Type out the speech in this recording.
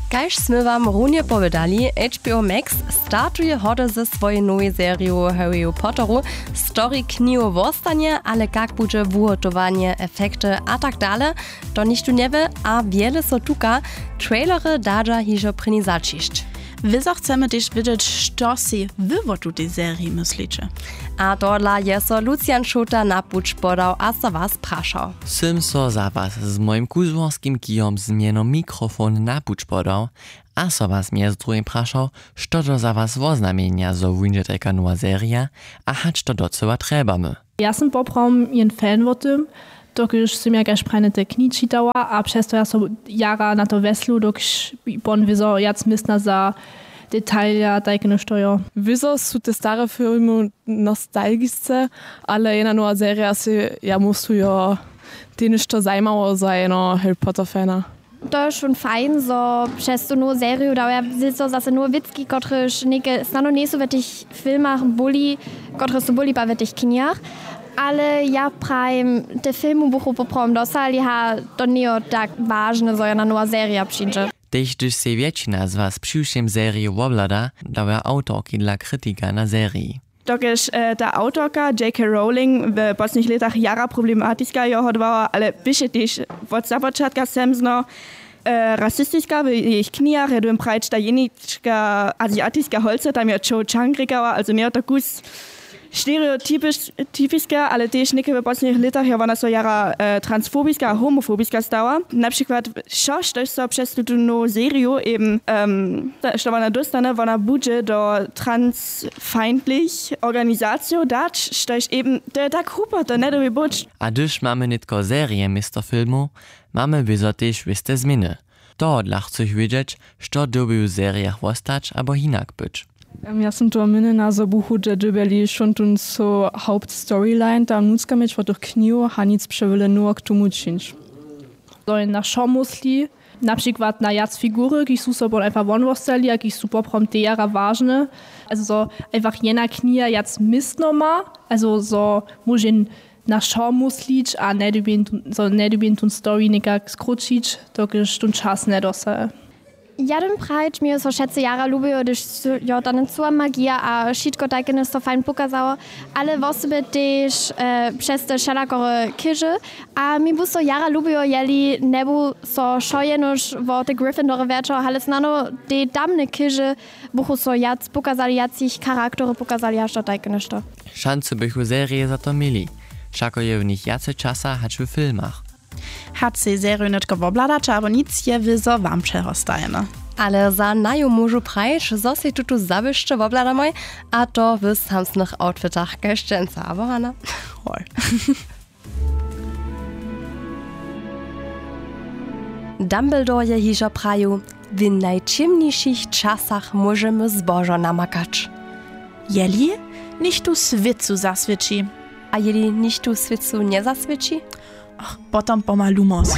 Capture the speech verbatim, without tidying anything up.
Kaž smy wam runje powědali, H B O Max startuje hody ze swojej nowej seriju Harryju Potteru. Story knihu wostanje, ale kak budźe wuhotowanje, efekty a tak dale, to nichtó njewě a wjele so tuka. Trailery dadźa hižo prěni zaćišć. Wězo chcemy tež wědźeć, što sej wy wo tutej seriji mysliće. A tohodla je so Lucian Šołta na puć podał a so was prašał. Sym so za was z mojim kuzłorskim kijom z mjenom mikrofon na puć podał a so was mjez druhim prašał, što to za was woznamjenja, zo wuńdźe tajka nowa serija a hač to docyła trjebamy. Ja sym poprawom jen fan wo tym, dokelž sym ja kaž prajnje te knihi čitała a přez to ja so jara na to wjeslu, dokelž pon wězo wjac městna za detalja tajke něšto jo. Wězo su te stare filmy nostalgisce, ale jedna nowa serija sej ja myslu jo, tež něšto zajimało za jeno Harry Potter fana. To je wšón fajn, zo přez tu nowu seriju dał ja wězo zase nowe wěcki, kotrež něke snano njejsu w tych filmach buli, kotrež su buli pa w tych knihach. Ale ja prajim, te filmy buchu poprawom dosali, ha, to njejo tak wažne, zo jedna nowa serija přińdźe. Tež hdyž sej wjetšina z was přiwšěm seriju wobhlada, dał ja awtorki dla kritika na seriji. Dokelž ta awtorka J K Rowling w poslednich lětach jara problematiska jeho dbała, ale běše tež wot započatka semzno rasistiska w jejich knihach, ja dym prajć, ta jenička aziatiska holca tam jo Cho Chang rěkała, also njejo to kus stereotypiska, ale tež někaj w poslednich lětach jo wona so jara transfobiska a homofobiska stała. Na přikład wšo, štož so přez tutu nowu seriju eben što wona dóstane, wona budźe do transfeindlich organizacijow dać, štož eben, to je tak hrupo, to njedyrbi być. A hdyž mamy nětko serije město filmow, mamy wězo tež wěste změny. Tohodla chcych wědźeć, što dyrbi w serijach wostać abo hinak być. Ja sym toho měnjena, zo buchu te dyrbjeli wšón tón so hauptstoryline tam nutřka měć wot tych knihow a nic přewjele nowe k tomu čińć. Zo je na wšo mysli, na přikład na wjac figury, kiž su so pon einfach won wostali a kiž su poprawom te jara wažne. Also zo einfach jedna kniha wjac městno ma, also zo móže na wšo myslić a njedyrbjeń tón story někak skróćić, dokelž tón čas njedosaje. Ja dym prajć, mi jo so wšetcy jara lubiło, hdyž jo tam cyła magija a wšitko tajke něšto fajn pokazało, ale wosebje tež přez te wšelakore chěže. A mi bu so jara lubiło, jeli njebu so wšo jenož wo te Gryffindore wjerćało, ale snano te tamne chěže buchu so wjac pokazali, wjac jich charaktery pokazali, hač to tajke něšto. Šancu bychu serije za to měli, wšako je w nich wjace časa hač w filmach. Hač sej seriju nětko wobhladaće abo nic, je wězo wam přehostajene. Ale za naju móžu prajć, zo sej tutu zawěsće wobhladamoj, a to w samsnych outfitach kaž dźensa, abo Hana? Hoj. Dumbledore je hižo prajił: W najćěmnišich časach móžemy zbožo namakać. Jeli nichtó swětcu zaswěći. A jeli nichtó swětcu njezaswěći? Ach, potom pomha lumos.